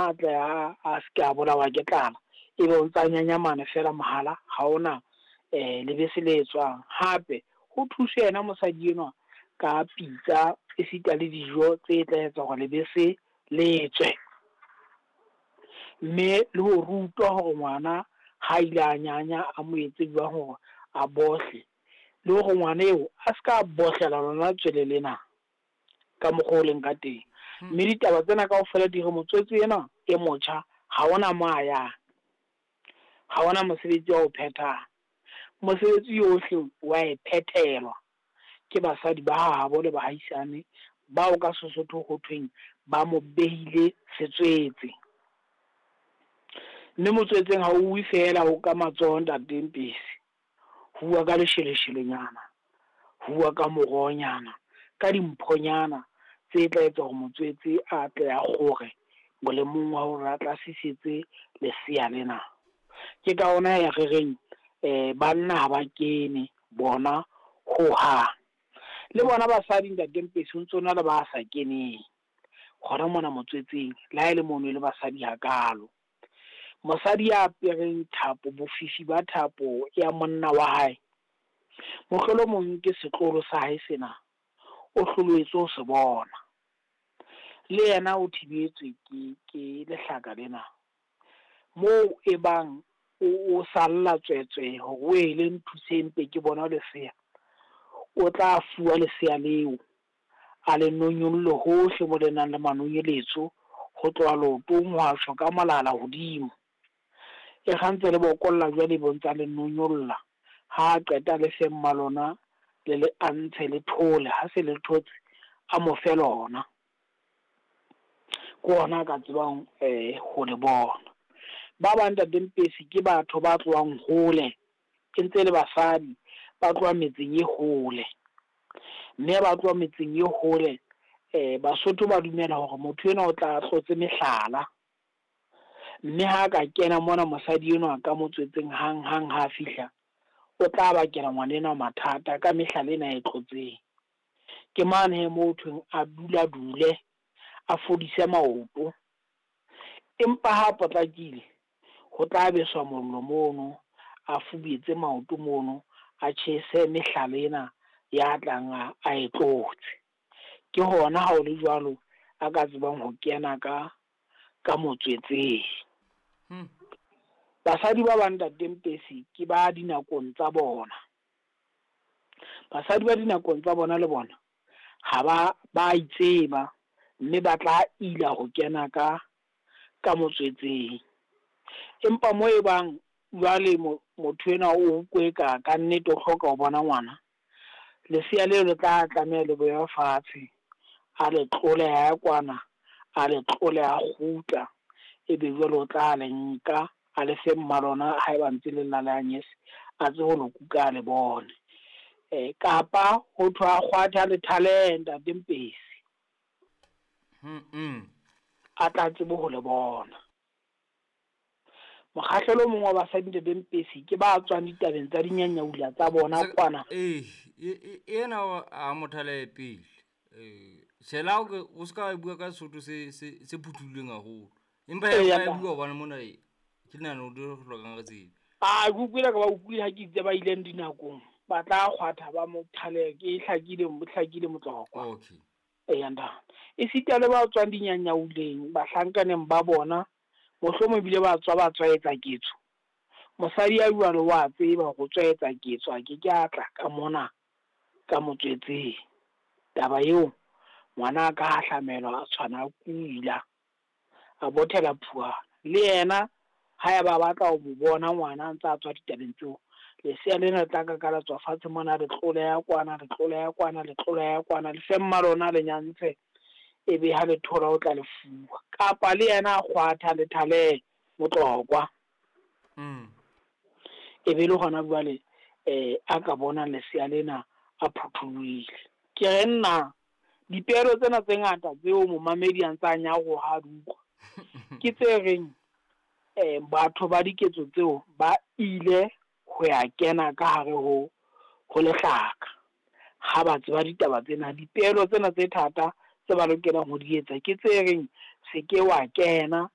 Ngwana a tle a se ke a bolawa ke tlala, ebe o ntsa nyanyamana fela mohala ha ona lebese le tswang. Hape ho thuswe yena mosadi enwa ka pitsa esita le dijo tse tla etsa hore lebese le tswe. Mme le ho rutwa hore ngwana ha ile a nyanya a mo etse jwang hore a bohle, le hore ngwana eo a ska bohlela lona tswele lena ka mokgwa o leng ka teng. Mme ditaba tsena kaofela di re motswetse ena e motjha ha ona mo a yang, ha ona mosebetsi wa o phethang. Mosebetsi yohle wa e phethelwa ke basadi ba habo le bahaisane bao ka Sesotho ho thweng ba mo behile setswetse. Mme motswetseng ha o uwe fela ho ka matsoho ntate Mpesi, ho uwa ka lesheleshelenyana, ho uwa ka morohonyana, ka dimphonyana tse tla etsa hore motswetse a tle a kgore molemong wa hore a tla sisetse lesea lena. Ke ka ona ya re reng banna ha ba kene bona hohang. Le bona basadi ntate Mpesi ho ntso na le ba sa keneng hona mona motswetseng, le ha e le mono e le basadi hakalo. Mosadi ya apereng thapo, bofifi ba thapo ya monna wa hae, mohlolomong ke setlolo sa hae sena, o hlolohetswe ho se bona. Le yena o thibetswe ke lehlaka lena. Moo e bang o salla tswetswe hore o ele nthuseng mpe ke bona lesea, o tla fuwa lesea leo, a le nonyolle hohle mo le nang le manonyeletso, ho tloha leotong ho a tjho ka molala hodimo. E kgantse le bokolla jwale bo ntsa le nonyolla, ha qeta le fe mma lona le le antshe le thole, ha se le thotse a mo fe lona. Ke ona a ka tsebang ho le bona. Ba bang ntate Mpesi ke batho ba tlohang hole, e ntse le basadi ba tloha metseng e hole. Mme ba tloha metseng e hole, Basotho ba dumela hore motho enwa o tla tlotse mehlala. Mme ha ka kena mona mosadi enwa ka motswetseng hang hang ha fihla, o tla bakela ngwana enwa mathata ka mehlala ena e tlotseng. Ke mane he moo thweng a dula dule, a fodise maoto. Empa ha potlakile, ho tla beswa mollo mono, a fubetse maoto mono, a tjhese mehlala ena ya tlang a e tlotse. Ke hona ha o le jwalo a ka tsebang ho kena ka motswetseng. Basadi ba bang ntate Mpesi ke ba dinakong tsa bona. Basadi ba dinakong tsa bona le bona ha ba itseba, mme ba tla ila ho kena ka motswetseng. Empa mo e bang jwale motho enwa o kweka ka nnete o hloka ho bona ngwana, lesea leo le tla tlameha le bewa fatshe, a le tlole ha kwana, a le tlole a kgutla, ebe jwale o tla le nka a le fe mma lona haeba ntse le lla le anyese, a tsebe ho lo kuka a le bone. Kapa ho thwe a kgwatha le thale ntate Mpesi, a tla tsebe ho le bona. Mokgahlelo o mong wa basadi ntate Mpesi ke ba tswang ditabeng tsa dinyanyaula tsa bona kwana. Ena a mothale pele. Shela o ska bua ka Sesotho se phuthuleng haholo. Empa ya bua hobane mona ke nahana o di hlokang re tsebe. A ke utlwile ka ba utlwile ha ke itse ba ileng dinakong, ba tla kgwatha ba mothale, ke hlakile motlokwa. Okay. Eya ntate. Esita le ba tswang dinyanyauleng, bahlankaneng ba bona, mohlomong ebile ba tswa ba tswaetsa ketso. Mosadi ya jwalo wa tseba hore o tswaetsa ketso, a ke ke a tla ka mona ka motswetseng. Taba eo ngwana a ka hahlamelwa a tshwana a kula, a bothela phuana. Le yena ha eba batla ho mo bona ngwana a ntse a tswa ditabeng tseo, lesea lena le tla ka la tswa fatshe mona, le tloleha kwana, le tloleha kwana, le tloleha kwana, le fe mma lona le nyantshe, ebe ha le thola o tla le fuwa. Kapa le yena a kgwatha le thale motlokwa. Ebe le hona jwale a ka bona lesea lena a phuthulohile. Ke re nna dipeelo tsena tse ngata tseo momamedi a ntse a nyaroha a di utlwa, ke tse reng batho ba diketso tseo ba ile ho ya kena ka hare ho lehlaka. Ha ba tseba ditaba tsena, dipeelo tsena tse thata tse ba lokelang ho di etsa ke tse reng se ke wa kena